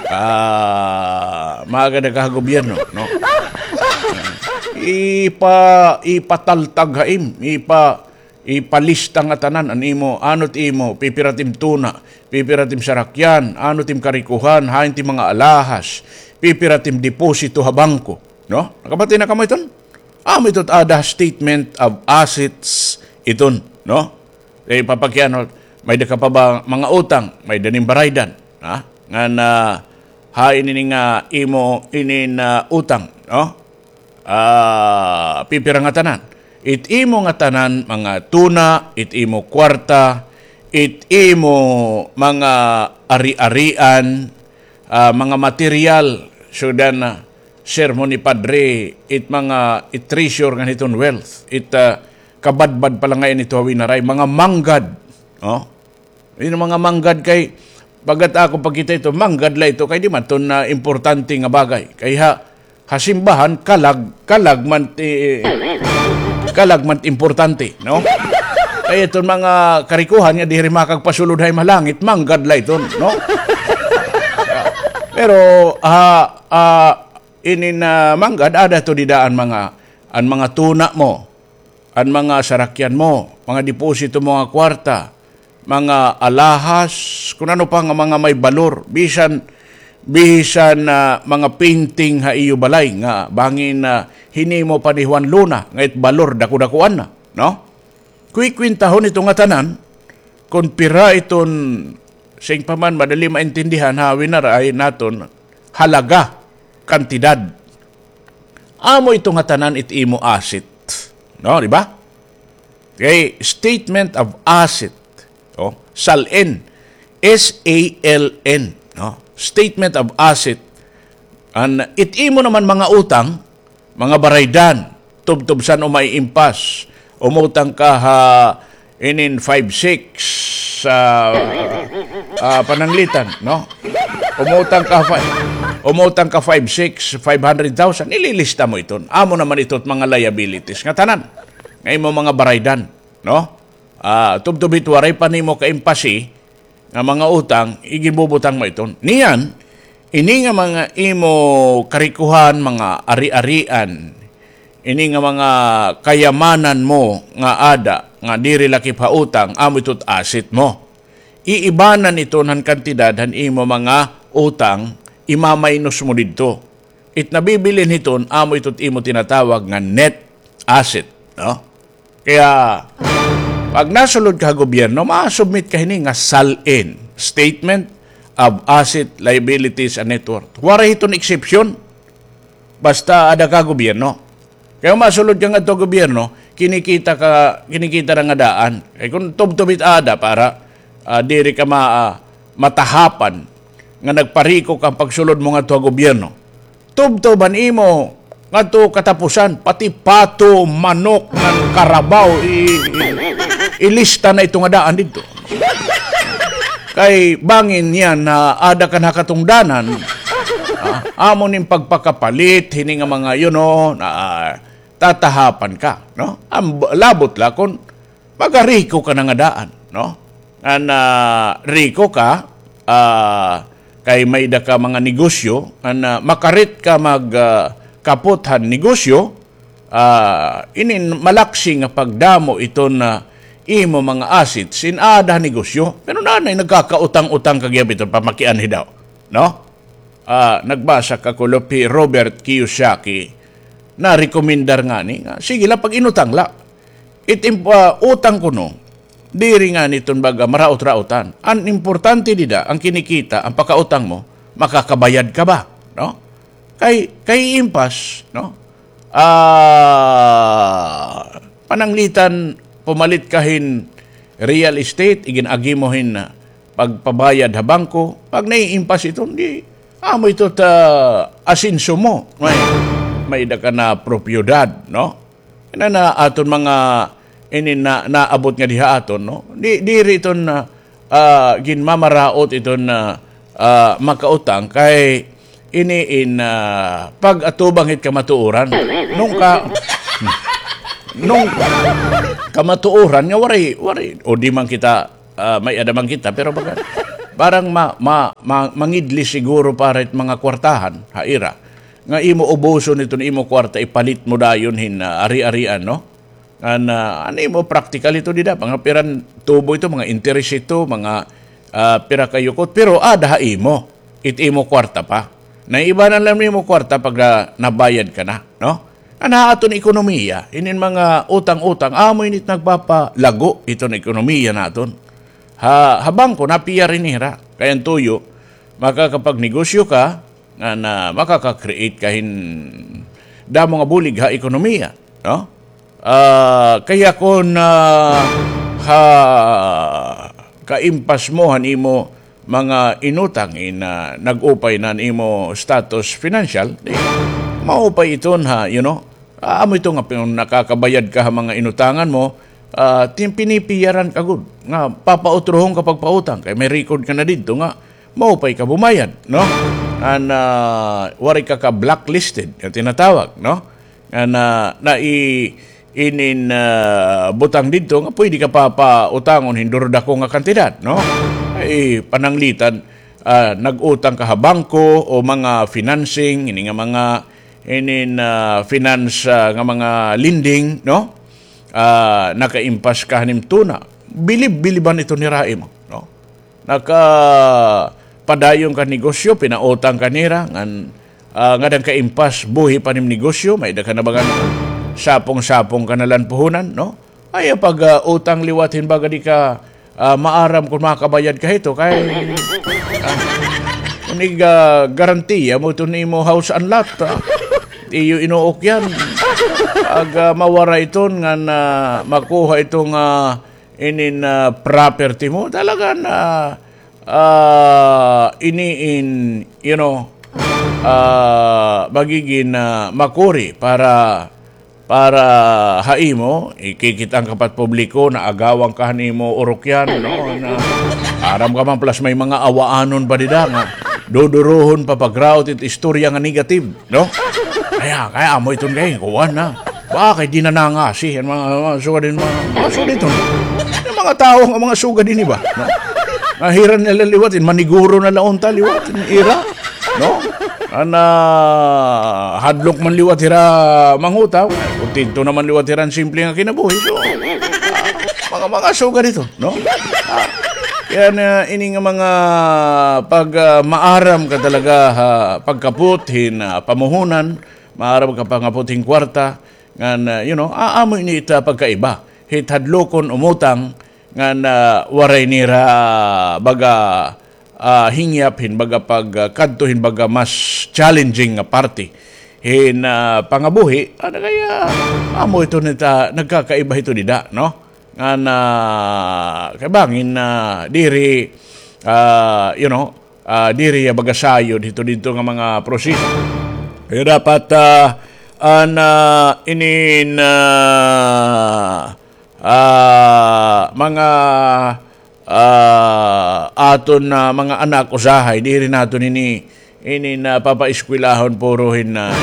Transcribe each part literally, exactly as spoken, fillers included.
Ah, maaga na ka ha gobyerno, no? Ipa-, ipataltag ha im, ipa-, ipalista ngatanan an imo, ano it imo, pipira it im tuna, pipira it im sarakyan, ano it im karikohan, hain it im mga alahas, pipira it im deposito ha bangko, no? Nakabati na kamo iton? Amo ito it aada ha statement of assets iton, no? Kay papakianhot, may-ada ka pa ba mga utang, may-ada nim baraydan, ha? Ngan, ah, hain ini nga imo inin, ah, utang, no? Ah, pipira ngatanan. It imo ngatanan mga tuna, it imo kwarta, it imo mga ari-arian, ah, mga material, sugdan na sermon ni Padre, it mga, it treasure ngan hiton wealth, it, ah, kabadbad pa la ngay-an ito ha winaray, mga manggad, no? Ini mga manggad kay, bagat ako pagkita ito, manggad la ito, kay di man iton, ah, importante nga bagay. Kay ha, ha simbahan, kalag, kalag man ti-, kalag man importante, no? Kay iton mga karikohan nga diri makagpasulod ha im ha langit, manggad la iton, no? Pero, ah, ah, inin, ah, manggad, aada ito dida an mga, an mga tuna mo, an mga sarakyan mo, mga deposito mo nga kwarta, mga alahas, kun ano pa nga mga may balor, bisan, bisan, ah, mga painting ha iyo balay nga bangin, ah, hinimo pa ni Juan Luna, nga it balor dako-dakoan na, no? Kukwintahon ito ngatanan, kun pira iton, siring pa man, madali maintindihan ha winaray naton, halaga, kantidad. Amo ito ngatanan it imo asset. No, di ba? Kay statement of asset. Oh, salin. S A L N. No? Statement of asset. An it imo naman mga utang, mga baraydan, tubtob san-o maiimpas. Umutang ka ha inin five six, ah, ah, pananglitan, no? Umutang ka fi-, umutang ka five six, five hundred thousand, ililista mo iton. Amo naman ito it mga liabilities nga tanan. Nga imo mga baraydan, no? Ah, tubtob hit waray pa nimo kaimpasi, nga mga utang, iginbubutang mo iton. Niyan, ini nga mga imo karikohan, mga ari-arian, ini nga mga kayamanan mo nga ada, nga diri lakip ha utang, amo ito it asset mo. Iibanan iton han kantidad han imo mga utang, imaminus mo didto. It nabibilin hiton, amo ito it imo tinatawag nga net asset, no? Kaya, pag nasulod ka ha gobyerno, ma-submit ka hini nga salin, Statement of Asset, Liabilities, and Net Worth. Waray hiton exception. Basta ada ka gobyerno. Kay masulod ka ngadto gobyerno, kinikita ka, kinikita na nga daan. Kay kun tubtob it ada para, ah, diri ka ma-, ah, matahapan nga nagpariko ka pagsulod mo ngadto ha gobyerno. Tubtob an imo ngadto katapusan, pati pato, manok, ngan karabaw, i-, i-, ilista na ito nga daan didto. Kay bangin niyan na ada ka na katungdanan, ah, amo nim pagpakapalit, hini nga mga, you know, na, ah, tatahapan ka, no? Am-, labot la kun magariko ka na nga daan, no? Ngan, ah, riko ka, ah, kay may-ada ka mga negosyo, ngan, ah, makarit ka mag, ah, kapot han negosyo, ah, inin malaksi nga pagdamo iton, ah, imo mga assets in aada ha negosyo. Pero nanay nagkakautang-utang ka gihap iton pamakianhi daw, no? Ah, nagbasa ka kulop hi Robert Kiyosaki, narekomendar ngani nga, sige la, pag-inutang la. It imp-, ah, utang kuno, diri ngani iton baga maraot-raotan. An importante dida, an kinikita, an pakautang mo, makakabayad ka ba, no? Kay, kay impas, no? Ah, pananglitan, pumalit ka hin real estate, igin-agi mo hin, ah, pagpabayad ha bangko, pag naiimpas iton, di, amo ito ta asenso mo. May, may-ada ka na propiedad, no? Ina na aton mga ini na, naabot nga diha aton, no? Di, diri iton, ah, ah, ginmamaraot iton, ah, ah, makautang kay ini in, ah, pag-atubang hit kamatuoran. Nung ka-, nung kamatuoran nga waray, waray, o di man kita, ah, may-ada man kita, pero baga, parang ma, ma, ma, mangidli siguro para it mga kwartahan ha ira. Nga imo ubuson iton imo kwarta, ipalit mo dayon hin, ah, ari-arian, no? An, ah, an imo praktikal ito dida, mga piran tubo ito, mga interes ito, mga, ah, pira ka yukot, pero ada ha imo, it imo kwarta pa. Naiibanan la nimo kwarta pag, ah, nabayad ka na, no? An ha aton ekonomiya, inin mga utang-utang, amo ini it nagpapalago iton ekonomiya naton. Ha, ha bangko, napiya ini hira. Kay an tuyo, makakapagnegosyo ka, nga na makaka-create ka hin damo nga bulig ha ekonomiya, no? Ah, kaya kon, ah, ha kaimpas mo han imo mga inutang in, ah, nag-upay na an imo status financial, di, maupay iton ha, you know, ah, amo ito nga pin-, nakakabayad ka ha mga inutangan mo, ah, tin-, pinipiyaran ka gud nga papautrohon ka pagpautang kay may record ka na didto nga maupay ka bumayad, no? An, ah, waray ka ka-blacklisted nga tinatawag, no? An, ah, na i-, inin, ah, butang didto nga pwede ka pa pautangon hin duro dako nga kantidad, no? Ay pananglitan, ah, nag-utang ka ha bangko o mga financing, ini nga mga, inin, ah, finance, ah, nga mga lending, no? Ah, nakaimpas ka han im tuna. Bilib-biliban ito nira ha imo, no? Nakapadayon ka negosyo, pinautang ka nira, ngan, ah, ngada han kaimpas, buhi pa an im negosyo, may-ada ka na bagan sapong-sapong ka na la han puhunan, no? Ayaw pag, ah, utang liwat hin baga di ka, ah, maaram kon makakabayad ka hito, kay, ah, kon ig, ah, garantiya mo iton imo house and lot, ah, iyo inuukyan. Ag, ah, mawara iton ngan, ah, makuha iton, ah, inin, ah, property mo, talaga na, ah, ini in, you know, ah, magigin, ah, makuri para, para ha imo, ikikit-an ka pa it publiko, naagawan ka han imo urukyan, no? Na, aram ka man, plus may mga awaanon pa dida nga dudurohon pa pagraot it istorya nga negative. No? Kaya, kaya amo iton kay, kuwan na. Ba, kay di na nangasi, an mga, mga sugad hin mga, mga sugad iton. An mga tawo nga mga sugad ini ba? No? Nga hira na la liwat, maniguro na la unta liwat, ira. No? An, ah, hadlok man liwat hira mangutang, kontento naman liwat hira han simple nga kinabuhi. So, ah, mga, mga sugad iton. No? Ah, kaya na ini nga mga pag, ah, maaram ka talaga ha pagkapot hin, ah, pamuhunan, maaram ka pangapot hin kwarta, ngan, ah, you know, ah, amo ini it, ah, pagkaiba hit hadlokon umutang, ngan, ah, waray nira baga, ah, hingyap hin baga pag, ah, kadto hin baga mas challenging nga parte hin, ah, pangabuhi, ano kaya, amo ito nita, nagkakaiba ito dida, no? Ngan, ah, kay bangin, ah, diri, ah, you know, ah, diri ya baga sayod hito didto nga mga proseso. Kaya dapat, ah, an, ah, inin, ah, ah, mga, ah, aton, ah, mga anak usahay, diri naton ini, ini na papaeskwelahon puro hin, ah,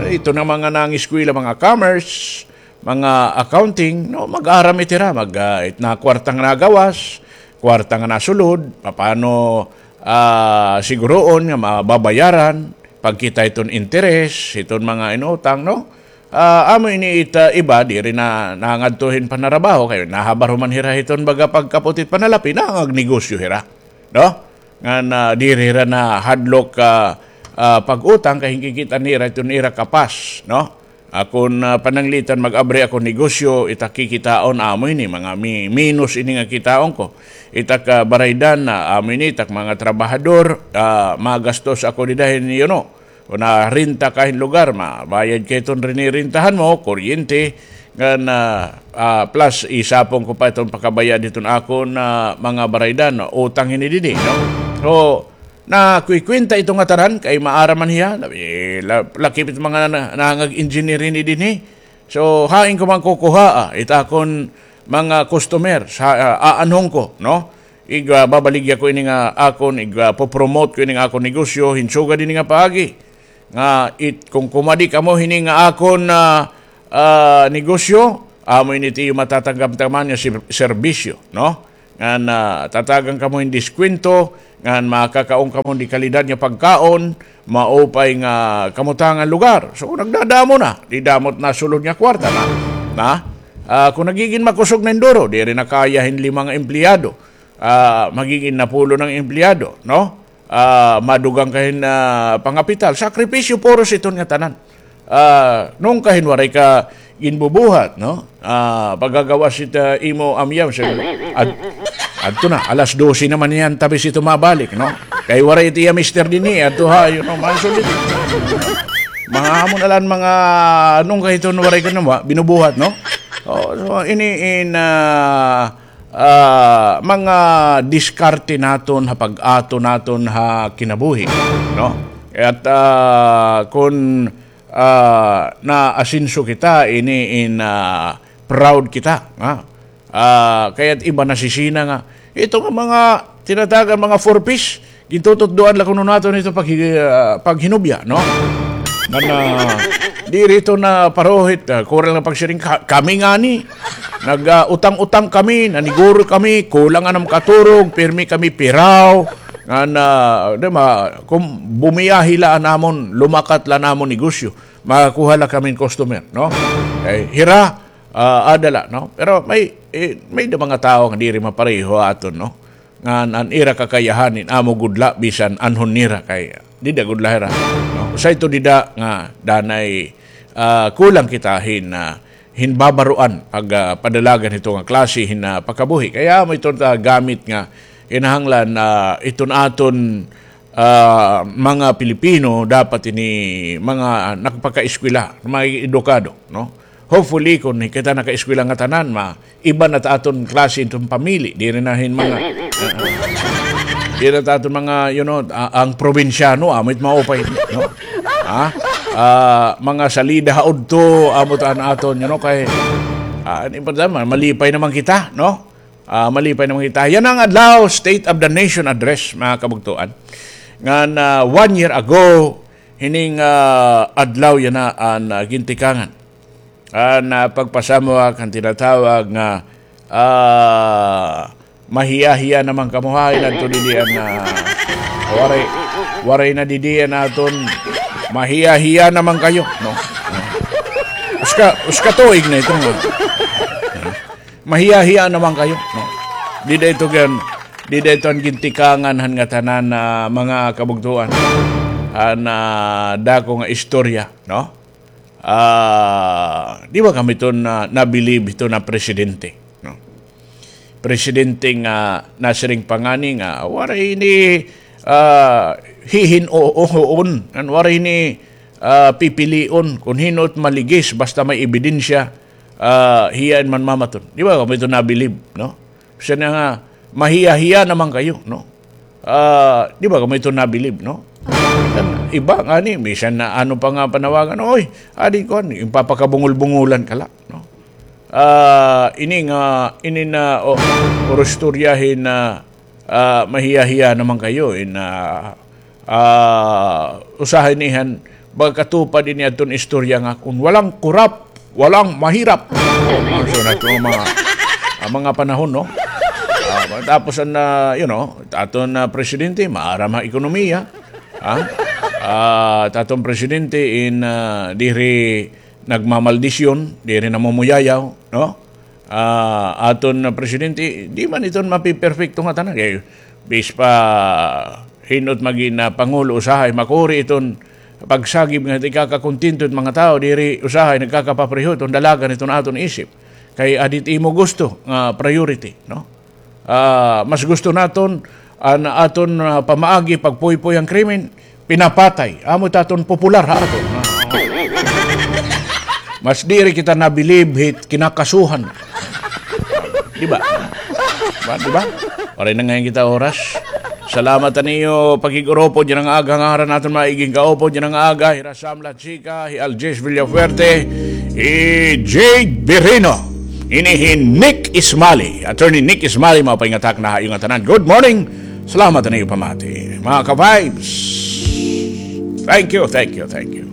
ito na mga nangeskwela, mga commerce, mga accounting, no, mag-aram iti ira, mag, ah, it na kwarta nga nagawas, kwarta nga nasulod, papaano, ah, siguroon nga mababayaran, pagkita iton interes, iton mga inutang, no? Ah, amo ini it, ah, iba, diri na nangadto hin panarabaho, kay nahabar human hira hiton baga pagkapot it panalapi, nangagnegosyo hira, no? Ngan, ah, diri hira nahadlok, ah, ah, pag-utang, kay hinkikit-an nira iton ira kapas, no? Akon, ah, pananglitan, mag-abri ako negosyo, ita kikitaon, amo ini, mga mi-, minus ini nga kitaon ko. Ita ka baraydan, ah, amo ini, ita ka mga trabahador, ah, magastos ako dida hin, you know, kon narenta ka hin lugar, mabayad ka hiton rinirentahan mo, kuryente, ngan, ah, ah, plus isapon ko pa iton pakabayad hiton akon, ah, mga baraydan, utang hini didi, no? So, nakwikwenta ito nga tanan, kay maaram man hiya, eh, la-, lakip it mga na-, nangag-engineer hini dinhi. So, hain ko man kukuhaa, ah, it akon mga customer, sa, ah, aanhon ko, no? Ig, ah, babaligya ko ini nga akon, ig, ah, popromote ko ini nga akon negosyo, hin sugad ini nga paagi. Nga it, kon kumadi kamo hini nga akon, ah, ah, negosyo, amo ini it iyo matatanggap taman nga ser-, serbisyo, no? Ngan, ah, tatagan kamo hin diskwento, Ngan makakaon kamo di kalidad nga pagkaon, maupay nga kamutangan lugar. So, nagdadamo na, di damo it nasulod nga kwarta na. Na? Ah, kon nagigin makusog na hin duro, diri na kaya hin lima nga empleyado. Ah, magigin napulo na nga empleyado, no? Ah, madugang ka hin, ah, pangapital. Sakripisyo puros iton nga tanan. Ah, nungka hin waray ka ginbubuhat, no? Ah, pagagawas it, ah, imo amyaw, sir. Ad-, adto na, alas dose naman niyan, tabi sito mabalik, no? Kay waray it iya mister dinhi, adto ha, you know, mansol dito. Mga amo na lang mga, nungka hiton waray ka na, binubuhat, no? Oh, so, ini in, ah, ah, mga diskarte naton ha pag-ato naton ha kinabuhi, no? At, ah, kun, ah, naasenso kita, ini in, ah, proud kita, ha? Ah, kaya't iba nasisina nga, ito nga mga tinatagan, mga four Ps, gintututdoan la kuno naton ito pag-, ah, paghinubya, no? Ngan, ah, diri ito na paruhit, ah, kurang na pagsiring, ka-, kami ngani, nag, ah, utang-utang kami, naniguro kami, kulang an am katurog, pirmi kami piraw, ngan, ah, di ba, kung bumiyahe la an amon, lumakat la an amon negosyo, makakuha la kami hin customer, no? Eh, hira, ah, ada la, no? Pero may, eh, may da mga tawo nga diri mapareho aton, no? Ngan an ira kakayahan hin amo gud la bisan anhon nira kay dida gud la hira, no? Usa ito dida nga danay, ah, kulang kita hin, ah, hin babaroan pag, ah, padalagan hito nga klase hin, ah, pagkabuhi. Kay amo iton ta gamit nga kinahanglan, ah, iton aton, ah, mga Pilipino dapat ini mga nagpakaeskwela, mga edukado, no? Hopefully, kun kita nakaeskwela nga tanan, ma-, iba na ta aton klase iton pamili. Diri na hin mga, ah, ah. Diri na ta aton mga, you know, ah, ang probinsyano, amo it maupay, no? Ha? Ah, mga salida ha udto, amo ta an aton, you know, kay, ah, ano yung problema? Malipay naman kita, no? Ah, malipay naman kita. Yana an adlaw, State of the Nation Address, mga kabugtuan. Ngan, ah, one year ago, hining, ah, adlaw yana an, ah, gintikangan. An, ah, pagpasamuak han tinatawag nga, ah, mahiya-hiya naman kamo ha, inadto didi an, ah, waray, waray na didi an aton mahiya-hiya naman kayo, no? Uska, uska tuig na ito nga. Mahiya-hiya naman kayo, no? Dida ito gan, dida ito an gintikangan han ngatanan na mga kabugtuan. An, ah, dako nga istorya, no? Ah, di ba kamo ito na, nabilib ito na presidente, no? Presidente nga nasiring pa ngani nga waray ini, ah, hihin-o-, ohoon, an waray ini, ah, pipilion kun hin-o it maligis basta may ebidensya, ah, hiya in manmamaton. Di ba kamo ito nabilib, no? Siya na nga, mahiya-hiya naman kayo, no? Ah, di ba kamo ito nabilib, no? Iba ngani, bisan na ano pa nga panawagan, oy, adi ko, ipapakabungol-bungolan ka la, no? Ah, ini nga, ini na, o, puro istorya hin, ah, ah, mahiya-hiya naman kayo, in, ah, ah, usahay nihan, magkatupad ini adton istorya nga, kung walang kurap, walang mahirap. Oh, mga sunod ko, mga, ah, mga panahon, no? Ah, tapos an, ah, you know, aton, ah, presidente, maaram ha ekonomiya. Ha? Ah, aton presidente in, ah, diri nagmamaldisyon, diri namumuyayaw, no? Ah, aton presidente, di man iton mapiperpekto nga tanan. Kay, bis pa hin-o it magin, ah, pangulo, usahay makuri iton pagsagip nga ikakakontento it mga tawo, diri usahay nagkakapapreho iton dalagan iton aton isip. Kay adi it imo gusto nga priority, no? Ah, mas gusto naton an aton, ah, pamaagi pagpuypoy han krimen, pinapatay. Amo it aton popular ha aton. Mas diri kita nabilib hit kinakasuhan. Di ba? Ba, di ba? Waray na ngay-an kita oras. Salamat ha niyo pakig-urupod yana nga aga, ngaran naton mga igin kaupod yana nga aga, hira Sam Lachica, hi Algis Villafuerte, hi Jade Birino. Ini hi Nick Ismali, Attorney Nick Ismali, maupay nga takna ha iyo ngatanan. Good morning. Salamat ha niyo pamati, mga ka-vibes. Thank you, thank you, thank you.